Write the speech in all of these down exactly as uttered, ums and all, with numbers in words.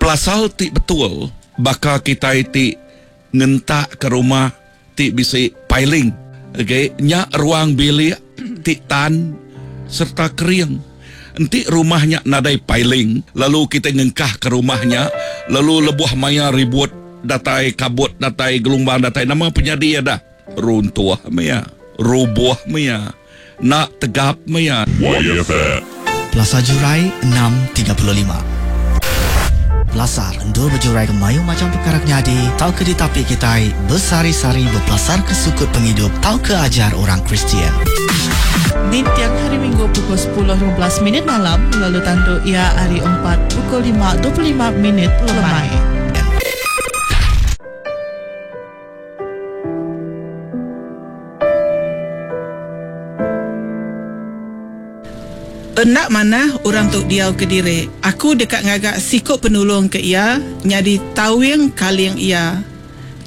Pelasar ti betul baka kitai ti ngentak ke rumah ti bisi piling. Okey, nya ruang bilik ti tan serta kering. Enti rumahnya nadai piling, lalu kita ngengkah ke rumahnya, lalu lebuh maya ribut datai, kabut datai, gelombang datai, nama penyadi ada? Runtuh maya, rubuh maya, nak tegap maya. Y F M. Plaza Jurai enam tiga puluh lima. Pelasar endur berjurai ke mayu macam perkara nyadi tau ke ditapi kitai besari-sari berpelasar ke sukut penghidup tau ke ajar orang Kristian. Di tiang hari Minggu pukul sepuluh lima belas minit malam lalu tandu ia hari empat pukul lima dua puluh lima minit lemai. Endak mana orang tu diau ke diri. Aku dekat ngagak sikuk penolong ke ia, nyadi tawing kaling ia.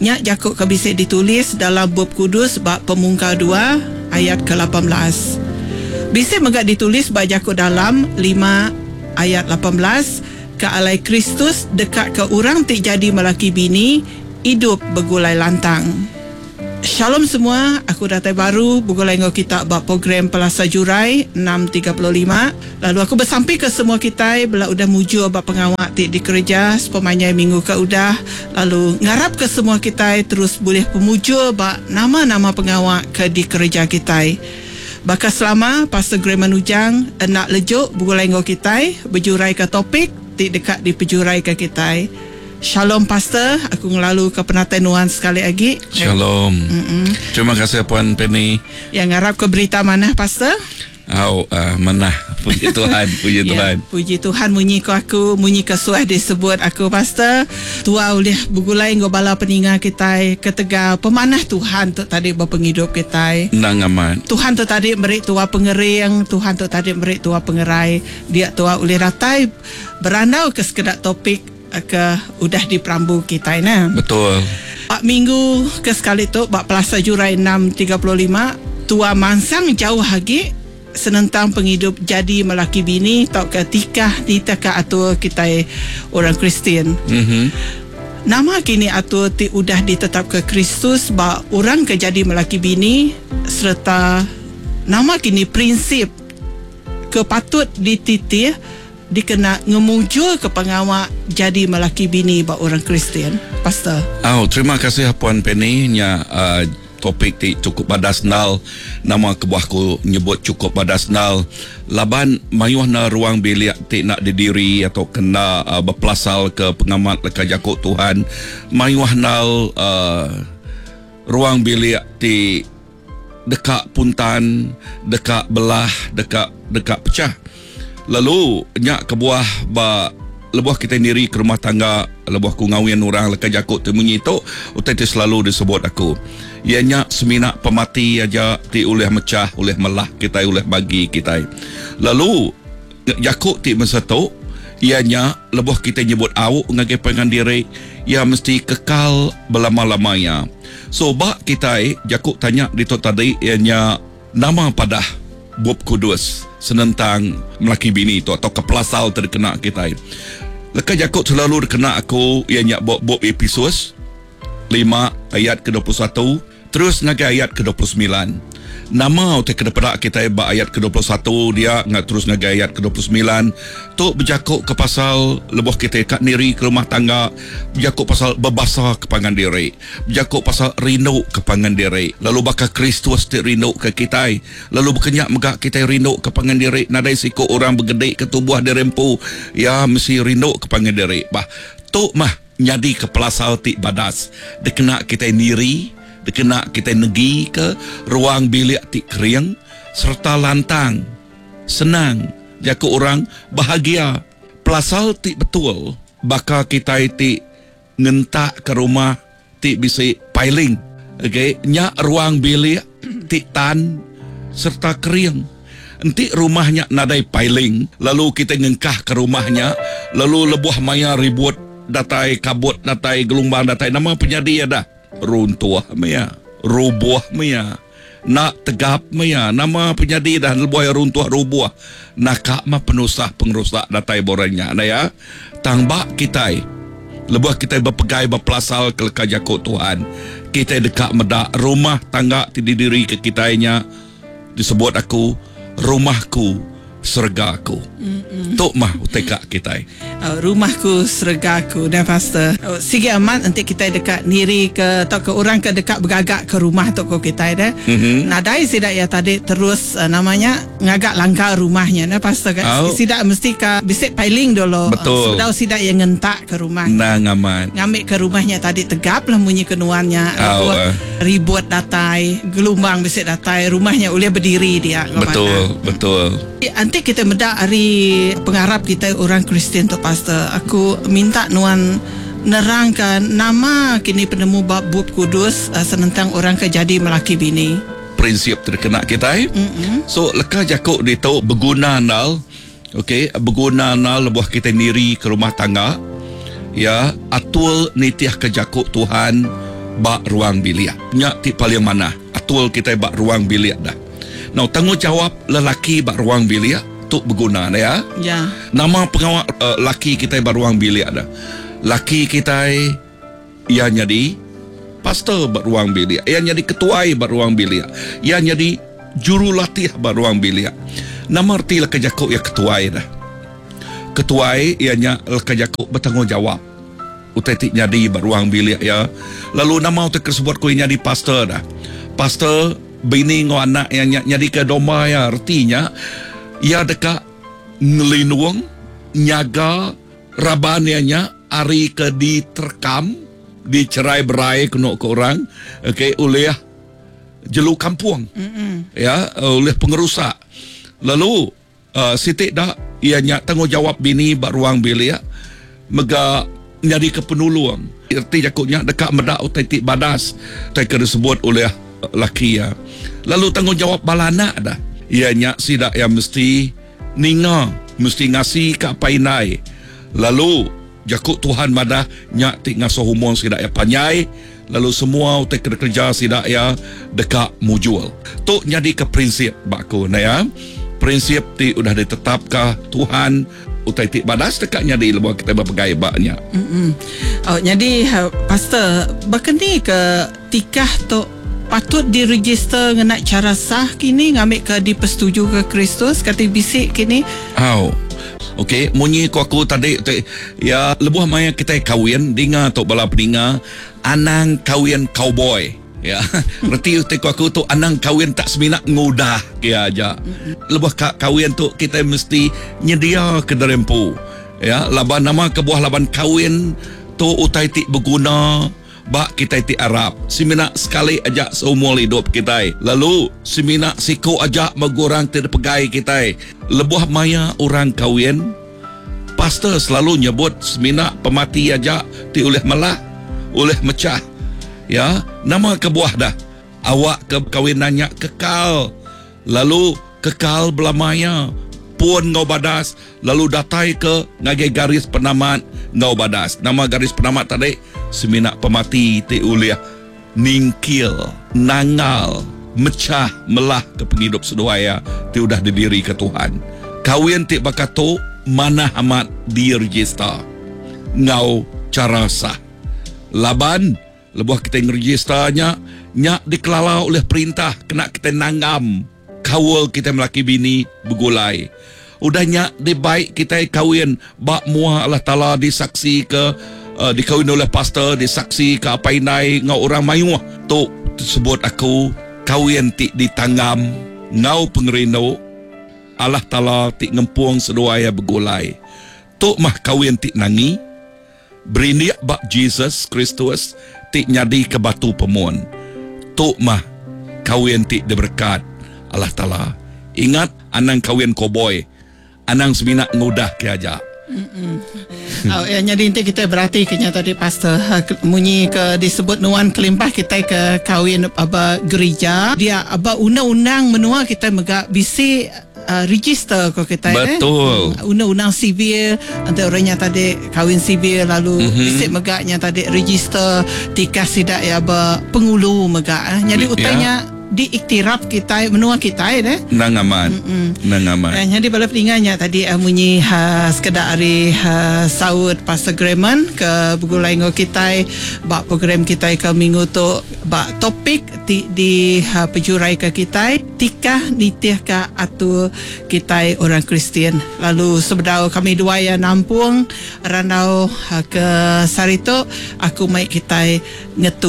Nyak jakuk ke bisa ditulis dalam Bup Kudus bab Pemungkal dua ayat ke lapan belas. Bisa megak ditulis bab jakuk dalam lima ayat lapan belas ke alai Kristus dekat ke orang ti jadi melaki bini hidup begulai lantang. Shalom semua, aku datai baru begulai ngau kita bab program Pelasa Jurai enam tiga puluh lima. Lalu aku bersampi ke semua kita bela udah mujur bab pengawak ti dikerja sepemanjai minggu ke udah. Lalu ngarap ke semua kita terus boleh pemujur bab nama-nama pengawak ke dikerja kita. Baka selama Pastor Graham Ujang enak lejuk begulai ngau kita berjurai ke topik ti dekat dipejurai ke kita. Shalom Pastor, aku ngelalu ke penatai nuan sekali lagi. Shalom. Mm-mm. Terima kasih Puan Penny. Yang ngarap ke berita mana Pastor? Au, uh, manah. Puji Tuhan, puji ya, Tuhan. Puji Tuhan munyi ko aku, munyi ke suah disebut aku Pastor. Tua ulih begulai nggo bala peninga kita ketegal pemanah Tuhan tu tadi berpenghidup kita. Nang amat. Tuhan tu tadi beri tua pengering, Tuhan tu tadi beri tua pengerai. Dia tua ulih datai berandau ke sekedak topik ke udah di perambu kita nah. Betul. Pak minggu ke sekali tu bak Plaza Jurai enam tiga puluh lima tua mansang jauh lagi senentang penghidup jadi melaki bini tau ke tikah ditaka atur kita orang Kristian. Mhm. Nama kini atur ti udah ditetap ke Kristus ba orang ke jadi melaki bini serta nama kini prinsip ke patut dititih dikena ngemujur ke pengawak jadi melaki bini ba orang Kristian. Pastor. Oh, terima kasih Puan Penny nya uh, topik ti cukup badas nal. Nama kebuah ku nyebut cukup badas nal laban mayuh na ruang bilik ti nak didiri atau kena uh, berpelasal ke pengamat leka jakuk Tuhan. Mayuh nal uh, ruang bilik ti dekat puntan, dekat belah, dekat dekat pecah. Lalu nyak kebuah ba lebuh kita niri ke rumah tangga, lebuh ku ngawin orang leka jakuk tu munyi tu utai ti selalu disebut aku. Ia nyak semina pemati aja ti ulih mecah, ulih melah kita, ulih bagi kita. Lalu jakuk ti masa tu ia nyak lebuh kita nyebut au ngagai pangan diri, ia mesti kekal berlama-lamanya. So ba kita jakuk tanya di tu tadi ia nyak nama padah Bup Kudus senentang melaki bini tu atau kepelasal terkena kita. Leka jakuk selalu terkena aku ia nyak bup, bup Efesus lima ayat ke dua puluh satu terus ngagai ayat ke dua puluh sembilan. Nama utai ke depan kita ba ayat ke dua puluh satu dia ngak terus ngagai ayat ke dua puluh sembilan tu berjakuk ke pasal lebuh kita kat niri ke rumah tangga, berjakuk pasal berbasa ke pangan diri, berjakuk pasal rindu ke pangan diri. Lalu bakal Kristus ti rindu ke kita, lalu berkenyak megak kita rindu ke pangan diri. Nadai siku orang bergedik ke tubuh dirempu, ya mesti rindu ke pangan diri. Bah tu mah nyadi ke pelasal ti badas dikena kita niri, dikena kita negi ke ruang bilik ti kering serta lantang, senang, jaku orang bahagia. Pelasal ti betul baka kita ti ngentak ke rumah ti bisi piling. Okey, nyak ruang bilik ti tan serta kering. Enti rumahnya nadai piling, lalu kita ngengkah ke rumahnya, lalu lebuh maya ribut datai, kabut datai, gelombang datai, nama penyadi ada? Runtuh maya, rubuh maya, Nak tegap maya nama penyadi dah lebuh runtuh rubuh nakak mah penusah pengerusak datai borangnya na ya. Tang bak kitai lebuh kitai berpegai berpelasal ke leka jaku Tuhan, kitai dekat medak rumah tangga ti didiri ke kitainya disebut aku rumahku sergaku. Tok mah utai kak kitai. Uh, rumahku sergaku dan pastor. Uh, sige amat nanti kita dekat niri ke atau ke orang ke dekat bergagak ke rumah tu ko kitai dah. Mm-hmm. Nadai sidak ya tadi terus uh, namanya ngagak langkah rumahnya nah pastor kan. Oh. Sidak mesti ke bisik piling dulu. Betul. Uh, sidak yang ngentak ke rumah. Nah ngaman. Ngambil ke rumahnya tadi tegap lah bunyi kenuannya. Oh, uh. Ribut datai, gelombang bisik datai, rumahnya boleh berdiri dia. Betul, betul. Nanti kita medak hari pengarap kita orang Kristian tu pastor. Aku minta nuan nerangkan nama kini penemu bab Bup Kudus uh, senentang orang ke jadi melaki bini. Prinsip terkena kita. Eh? Mm-hmm. So leka jakuk dia tahu berguna nal. Okey, berguna nal lebuh kita niri ke rumah tangga. Ya, atul nitiah ke jakuk Tuhan bak ruang bilik. Nyak ti paling mana? Atul kita bak ruang bilik dah. Now tanggungjawab lelaki bak ruang bilik tu berguna ya. Ya. Nama pengawal uh, laki kita bak ruang bilik dah. Laki kita ia jadi pastor bak ruang bilik, ia jadi ketuai bak ruang bilik, ia jadi jurulatih bak ruang bilik. Nama erti leka jakuk ia ketuai dah. Ketuai ianya leka jakuk bertanggungjawab. Utai ti jadi bak ruang bilik ya. Lalu nama utai tersebut ku jadi pastor dah. Pastor bini ngau anak yang jadi ke domba ya, artinya ia dekat ngelinung nyaga raban ianya ari ke diterkam dicerai berai kena ke orang, okey, oleh jelu kampung. Mm-mm. Ya, oleh pengerusak. Lalu uh, sitik dah ianya tanggungjawab bini bak ruang bilik mega jadi ke penolong. Erti jakuknya dekat medak utai ti badas utai ke disebut oleh laki ya. Lalu tanggungjawab bala anak dah. Ianya sidak yang mesti ninga, mesti ngasi ke apa inai. Lalu jakuk Tuhan madah nyak ti ngasuh umur sidak ya panjai, lalu semua utai kerja sidak ya dekat mujul. Tu jadi ke prinsip baku nah ya. Prinsip ti udah ditetapkan Tuhan utai ti badas dekat nyadi lebuh kita berpegai baknya. Mm-mm. Oh, jadi pastor berkeni ke tikah tu patut diregister ngena cara sah kini ngambil ke dipersetuju ke Kristus kata bisik kini. Oh. Okey, munyi ku aku tadi te, ya lebuh maya kita kahwin dinga tok bala peninga anang kahwin cowboy. Ya, reti te ku aku tu anang kahwin tak semina ngudah kia aja. Lebuh ka, kahwin tu kita mesti nyedia ke derempu. Ya, laban nama kebuah laban kahwin tu utai ti berguna bak kita ti Arab. Semina sekali aja seumur hidup kita. Lalu semina siku aja megurang ti pegai kita. Lebuh maya orang kahwin, pastor selalu nyebut semina pemati aja ti oleh melah, oleh mecah. Ya, nama kebuah dah. Awak ke kahwinannya kekal. Lalu kekal belamaya pun ngau badas, lalu datai ke ngagai garis penamat ngau badas. Nama garis penamat tadi semina pemati ti uliah ningkil, nangal, mecah, melah ke penghidup seduaya ti udah didiri ke Tuhan. Kawin ti bakato mana amat diregister ngau cara sah. Laban lebuh kita ngeregisternya nyak dikelala oleh perintah kena kita nanggam kawal kita melaki bini bergulai. Udah nyak dibaik kita kawin bak muah Allah Taala disaksi ke uh, dikawin oleh pastor, disaksi ke apa inai ngau orang mayuh. Tu tersebut aku kawin ti ditanggam ngau pengerindu Allah Taala ti ngempung seduai bergulai. Tu mah kawin ti nangi berindik bak Jesus Kristus ti nyadi ke batu pemun. Tu mah kawin ti diberkat Allah Taala. Ingat anang kawin koboi, anang semina ngudah ke aja. Oh, ya, jadi nanti kita berarti kenya tadi pastor munyi ke disebut nuan kelimpah kita ke kawin aba gereja dia aba undang-undang menua kita mega bisi uh, register ko kita. Betul. Eh? Undang-undang sivil nanti orangnya tadi kawin sivil lalu mm-hmm. bisi megaknya tadi register tikah sidak ya aba pengulu megak eh. Jadi utanya ya. diiktiraf kita menua kita deh. Nang amat. Nang amat. Eh, jadi bala peninganya tadi uh, munyi uh, sekedar ari uh, saut Pastor Gremon ke begulai ngau kita bak program kita ke minggu tu bak topik ti di uh, pejurai ke kita tikah nitih ke atur kita orang Kristian. Lalu sebedau kami dua yang nampung randau uh, ke sari tu aku mai kita ngetu